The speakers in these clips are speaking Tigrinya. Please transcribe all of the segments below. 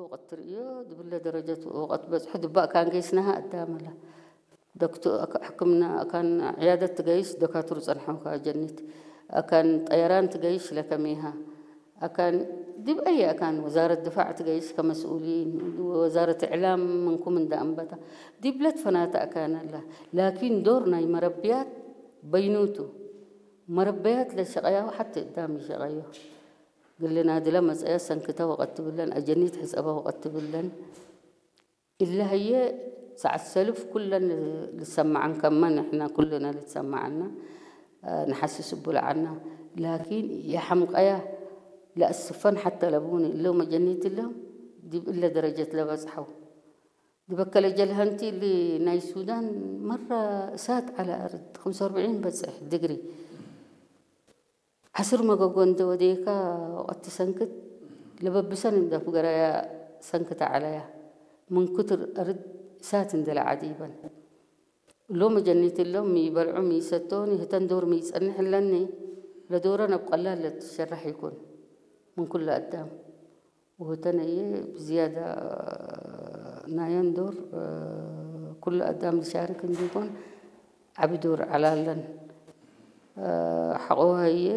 ወቐት ትርእዮ ድብለ ደረጀት ወቐት በጽሑ ድባእ ካን ገይስናሃ ኣዳመላ ዶክቶ ሕክምና ኣካን ዕያደት ትገይስ ደካቱር ጸንሖካ ጀኒት ኣካን ጠየራን ትገይሽ ለከሜሃ ኣካን ዲብ ኣየ ኣካን ወዛረት ድፋዕ ትገይሽ ከመስኡሊን ወዛረት እዕላም ምንኩም እንዳ ኣንበታ ዲብለት ፈናተ ኣካን ኣላ ላኪን ዶር ናይ መረብያት በይኑቱ መረበያት ለሸቐያው ሓቲ እዳም ይሸቐዮ ግልና ድለ መጸያ ሰንክተ ወቐት ትብለን ኣጀኒት ሕጸበ ወቐት ትብለን ኢለ ህየ ሰዓት ሰልፍ ኩለን ልሰማዓን ከመን ንሕና ኩልና ልትሰማዓና ንሓስስ እቡልዓና ላኪን የሓምቀያ ለኣስፈን ሓተ ለቡኒ እለው መጀኒት እለው ዲብ እለ ደረጀት ለበጽሐው ድበከለ ጀልሀንቲ እሊ ናይ ሱዳን መራ እሳት ዓለ ኣርድ ከምሰ ኣርብዒን በጽሕ ድግሪ ዓስር መገጎ እንተ ወደየካ ወቐቲ ሰንክት ለበብሰን እንደ ፍገራያ ሰንክት ዓለያ ምን ክትር እርድ እሳት እንደ ለዓዲበን እሎም ጀኒት እሎም ሚበልዑ ሚሰቶን ህተን ዶር ሚጸንሕ ለኒ ለዶረን ኣብ ቀላል ለትሸራሕ ይኩን ምን ኩሉ ኣዳም ውህተነየ ብዝያዳ ናየን ዶር ኩሉ ኣዳም ዝሻርክ እንዲኮን ዓቢ ዶር ዓላለን ሓቆሃየ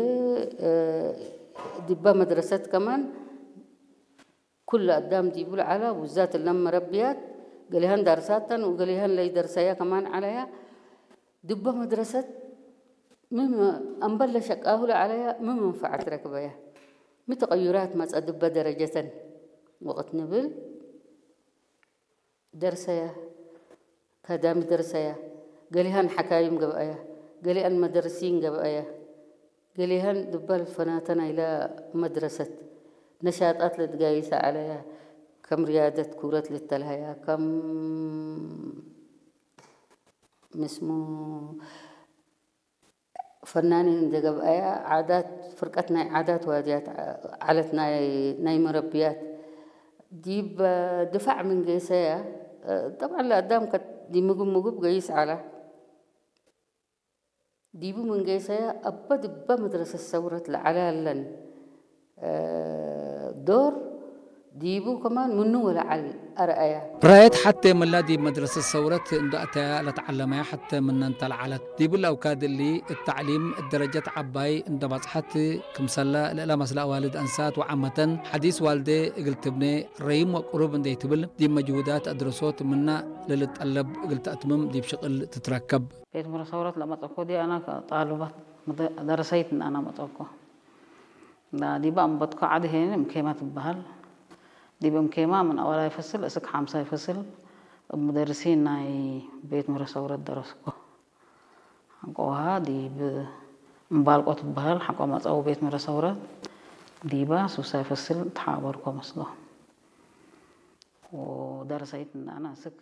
ዲባ መድረሰት ከማን ኩሉ ኣዳም ዲቡል ዓላ ውዛት ለም መረብያት ገሊሃን ዳርሳተን ወገሊሃን ለይደርሰያ ከማን ዓለያ ድባ መድረሰት ምን ኣንበለ ሸቃሁለ ዓለያ ምን መንፈዓት ረክበያ ምን ተቐዩራት መጸ ድበ ደረጀተን ወቕት ንብል ደርሰያ ካዳሚ ደርሰያ ገሊሃን ሓካይም ገብኣያ ገሊኣን መደርሲን ገብኣያ ገሊሀን ድበል ፈናተን ኣይለ መድረሰት ነሻጣት ለትጋይሰ ዓለያ ከም ሪያደት ኩረት ልተልሀያ ከም ምስሙ ፈናኒን እንደ ገብኣያ ዓዳት ፍርቀት ናይ ዓዳት ዋድያት ዓለት ናይ መረብያት ዲብ ድፋዕ ምን ገይሰያ ጠብዓን ለኣዳም ከት ዲምግብ ምግብ ገይስ ዓላ ዲቡ ምን ገይሰያ ኣበ ድበ መድረሰት ሰውረት ለዓላ ለን ዶር ዲቡ ከማን ምኑ ወለዓል ኣርኣያ። ራየት ሐቴ ምላ ዲብ መድረሰት ሰውረት እንዶ ኣተያ ለተዓለመያ ሐቴ ምነን ተለዓለት። ዲቡ ለአውካድ እሊ እት ተዕሊም እት ደረጀት ዐባይ እንዶ ባጽሐት ክምሰለ ለእለ መስለ አዋልድ አንሳት ወዓመተን ሐዲስ ዋልዴ እግል ትብኔ ረይም ወቅሩብ እንዴ ትብል ዲብ መጅሁዳት አድረሶት ምነ ለልጠለብ እግል ተአትምም ዲብ ሽቅል ትትረከብ። ቤት ምረ ሰውረት ለመጸኮ ዲ አና ጣልባት ደረሰይት አና መጸኮ። ዲበ አንበትኮ ዐድ ሄን እምኬማ ትበሀል። ዲብ እምኬማ ምን አወላይ ፈስል እስክ ሐምሳይ ፈስል እብ ሙደርሲን ናይ ቤት ምረ ሰውረት ደረስኮ። ሐቆሃ ዲብ እምባልቆ ትበሀል ሐቆ መጸው ቤት ምረ ሰውረት ዲባ ሱሳይ ፈስል ተሓበርኮ መስሎ። ወደረሰይት አና እስክ